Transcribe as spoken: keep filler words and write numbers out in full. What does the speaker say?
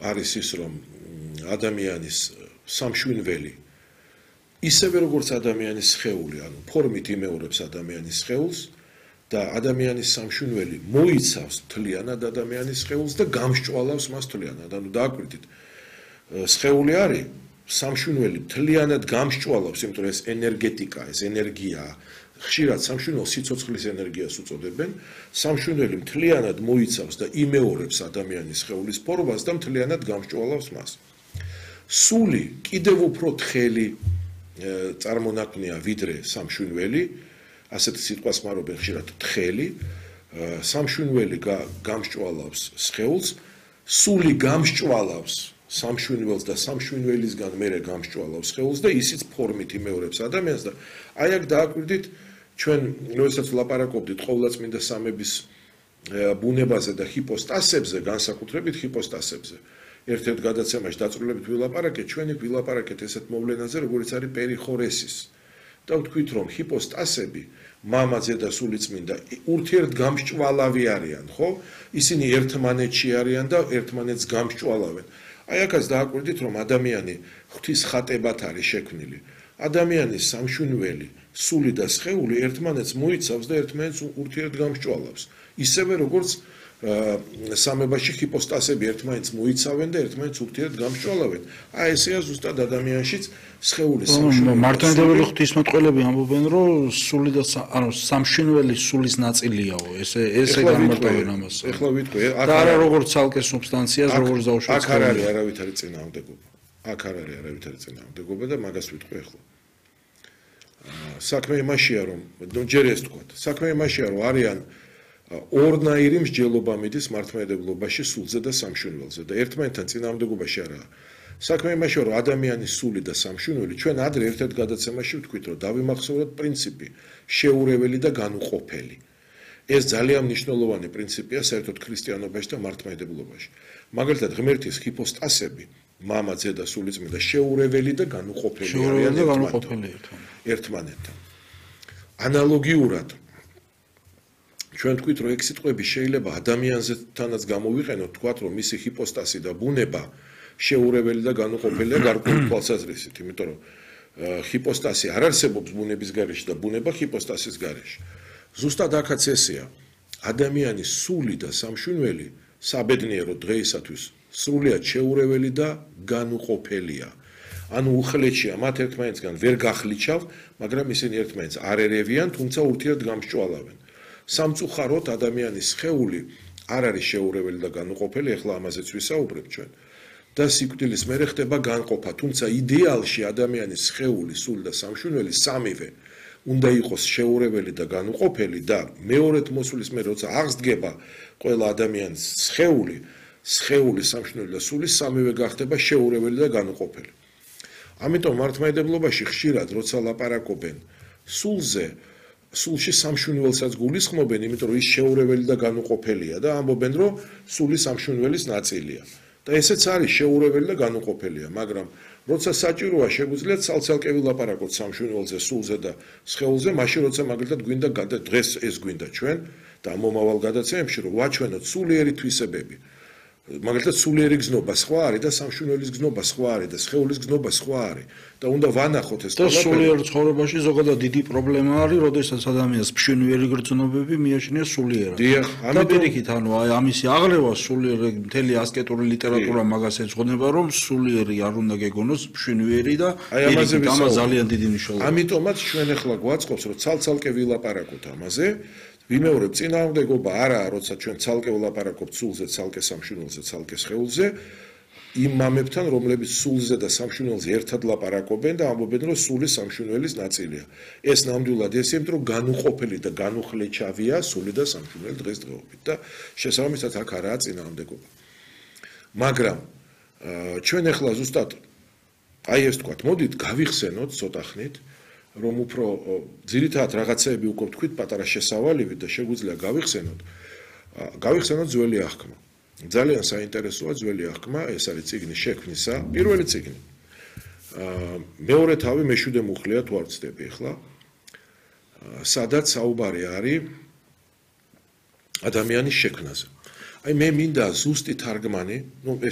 არის ის, რომ ადამიანის სამშვინველი ისევე როგორც ადამიანის სხეული, ანუ ფორმით იმეორებს ადამიანის სხეულს და ადამიანის სამშვინველი მოიცავს მთლიანად ადამიანის სხეულს და გამსჭვალავს მას მთლიანად. ანუ დააკვირდით, სხეული არის სამშვინველი მთლიანად გამსჭვალავს, იმიტომ რომ ეს ენერგეტიკა, ეს ენერგიაა. ხშირად სამშვინველს სიცოცხლის ენერგიას უწოდებენ. სამშვინველი მთლიანად მოიცავს და იმეორებს ადამიანის სხეულის ფორმას და მთლიანად გამსჭვალავს მას. სული კიდევ უფრო თხელი წარმონაქმნია ვიდრე სამშვინველი, ასეთი სიტყვას ხმარობენ ხშირად თხელი, სამშვინველი გამსჭვალავს სხეულს, სული გამსჭვალავს სამშვინველს და სამშვინველისგან მერე გამსჭვალავს სხეულს და ისიც ფორმით იმეორებს ადამიანს და აი აქ დააკვირდით ჩვენ როდესაც ვლაპარაკობდით ყოვლადწმინდა სამების ბუნებაზე და ჰიპოსტასებზე, განსაკუთრებით ჰიპოსტასებზე. ერთ-ერთ გადაცემაში დაწვრილებით ვილაპარაკეთ, ჩვენი ვილაპარაკეთ ესეთ მოვლენაზე, როგორც არის პერიხორესის. და ვთქვით, რომ ჰიპოსტასები, მამაძე და სულიწმინდა ურთიერთგამსჭვალავი არიან, ხო? ისინი ერთმანეთში არიან და ერთმანეთს გამსჭვალავენ. აი აქაც დააკვირდით, რომ ადამიანი ღვთის ხატებად არის შექმნილი. ადამიანის სამშვინველი, სული და სხეული ერთმანეთს მოიცავს და ერთმანეთს ურთიერთგამსჭვალავს. ისევე როგორც სამებაში ჰიპოსტასები ერთმანეთს მოიცავენ და ერთმანეთს ურთიერთგამსჭვალავენ. აი ესეა ზუსტად ადამიანშიც სხეულის სამშვინველი. მართლმადიდებელი ღვთისმეტყველები ამბობენ, რომ სული და ანუ სამშვინველი სულის ნაწილიაო. ესე ესე განმარტავენ ამას. ეხლა ვიტყვი, და არა როგორც ცალკე სუბსტანციას, როგორც დაუშვათ. აქ არ არის არავითარი წინააღმდეგობა. აქ არ არის არავითარი წინააღმდეგობა და მაგას ვიტყვი ეხლა. საქმე იმაშია, რომ ჯერ ეს თქვა. საქმე იმაშია, რომ არიან ორნაირი მსჯელობა მიდის მართლმადიდებლობაში სულზე და სამშვინველზე და ერთმანეთთან წინააღმდეგობაში არაა. საქმე იმაშია, რომ ადამიანის სული და სამშვინველი ჩვენ ადრე ერთ-ერთ გადაცემაში ვთქვით, რომ დავიმახსოვროთ პრინციპი შეურეველი და განუყოფელი. ეს ძალიან მნიშვნელოვანი პრინციპია საერთოდ ქრისტიანობაში და მართლმადიდებლობაში. მაგალითად, ღმერთის ჰიპოსტასები, მამა, ძე და სულიწმინდა შეურეველი და განუყოფელი არიან ერთმანეთთან. ანალოგიურად ჩვენ თქვით, რომ ეგ სიტყვები შეიძლება ადამიანზეთანაც გამოვიყენოთ, თქვათ, რომ მისი ჰიპოსტასი და ბუნება შეურეველი და განუყოფელია გარკვეული თვალსაზრისით, იმიტომ რომ ჰიპოსტასი არ არსებობს ბუნების გარეშე და ბუნება ჰიპოსტასის გარეშე. ზუსტად აქაც ესეა. ადამიანის სული და სამშვინველი საბედნიერო დღეისათვის სრულიად შეურეველი და განუყოფელია. ანუ უხლეთშია მათ ერთმანეთსგან ვერ გახლიჩავ, მაგრამ ისინი ერთმანეთს არ ერევიან, თუმცა ურთიერთგამსჭვალავენ. სამწუხაროდ ადამიანის სხეული არ არის შეურეველი და განუყოფელი, ეხლა ამაზეც ვისაუბრებ ჩვენ. და სიკვდილის მერე ხდება განყოფა, თუმცა იდეალში ადამიანის სხეული, სული და სამშვინველი სამივე უნდა იყოს შეურეველი და განუყოფელი და მეორედ მოსulis მერე როცა აღსდგება ყველა ადამიანის სხეული, სხეული, სამშვინველი და სული სამივე გახდება შეურეველი და განუყოფელი. ამიტომ მართლმადიდებლობაში ხშირად როცა ლაპარაკობენ სულზე, სულში სამშვინველსაც გულისხმობენ, იმიტომ რომ ის შეურეველი და განუყოფელია და ამბობენ, რომ სული სამშვინველის ნაწილია. და ესეც არის შეურეველი და განუყოფელია, მაგრამ როცა საჭიროა შეგვიძლია ცალ-ცალკე ვილაპარაკოთ სამშვინველზე, სულზე და სხეულზე, მაშინ როცა მაგალითად გვინდა დღეს ეს გვინდა ჩვენ და მომავალ გადაცემებში რომ ვაჩვენოთ სულიერი თვისებები. მაგალითად სულიერი გზნობა სხვა არის და სამშვინველის გზნობა სხვა არის და სხეულის გზნობა სხვა არის და უნდა ვანახოთ ეს ყველაფერი. და სულიერ ცხოვრებაში ზოგადად დიდი პრობლემა არის, როდესაც ადამიანს მშვინველი გრძნობები მიაჩნია სულიერად. დიახ, ამიტომ პირიქით, ანუ აი ამისი აღლევა სულიერი მთელი ასკეტური ლიტერატურა მაგას ეძღვნება, რომ სულიერი არ უნდა გეგონოს მშვინველი და პირიქით ამას ძალიან დიდი მნიშვნელობა. ამიტომაც ჩვენ ახლა გვაწყობს, რომ ცალ-ცალკე ვილაპარაკოთ ამაზე. ვიმეორებ წინააღმდეგობა არაა, როცა ჩვენ ცალკე ვლაპარაკობთ სულზე, ცალკე სამშვინველზე, ცალკე სხეულზე, იმ მამებთან, რომლებიც სულზე და სამშვინველზე ერთად ლაპარაკობენ და ამბობენ, რომ სული სამშვინველის ნაწილია. ეს ნამდვილად ესეა, იმიტომ რომ განუყოფელი და განუხლეჩავია სული და სამშვინველი დღესდღეობით და შესაბამისად აქ არაა წინააღმდეგობა. მაგრამ ჩვენ ახლა ზუსტად აი ეს თქვათ, მოდით გავიხსენოთ ცოტა ხნით, რომ უფრო ძირითადად რაღაცეები უკვე თქვით პატარა შესავალივით და შეგვიძლია გავიხსენოთ. გავიხსენოთ ძველი აღქმა. ძალიან საინტერესოა ძველი აღქმა, ეს არის წიგნის შექმნისა, პირველი წიგნი. მეორე თავი მეშვიდე მუხლია თუ არ ვცდები ახლა. სადაც საუბარი არის ადამიანის შექმნაზე. აი მე მინდა ზუსტი თარგმანი, ну ეს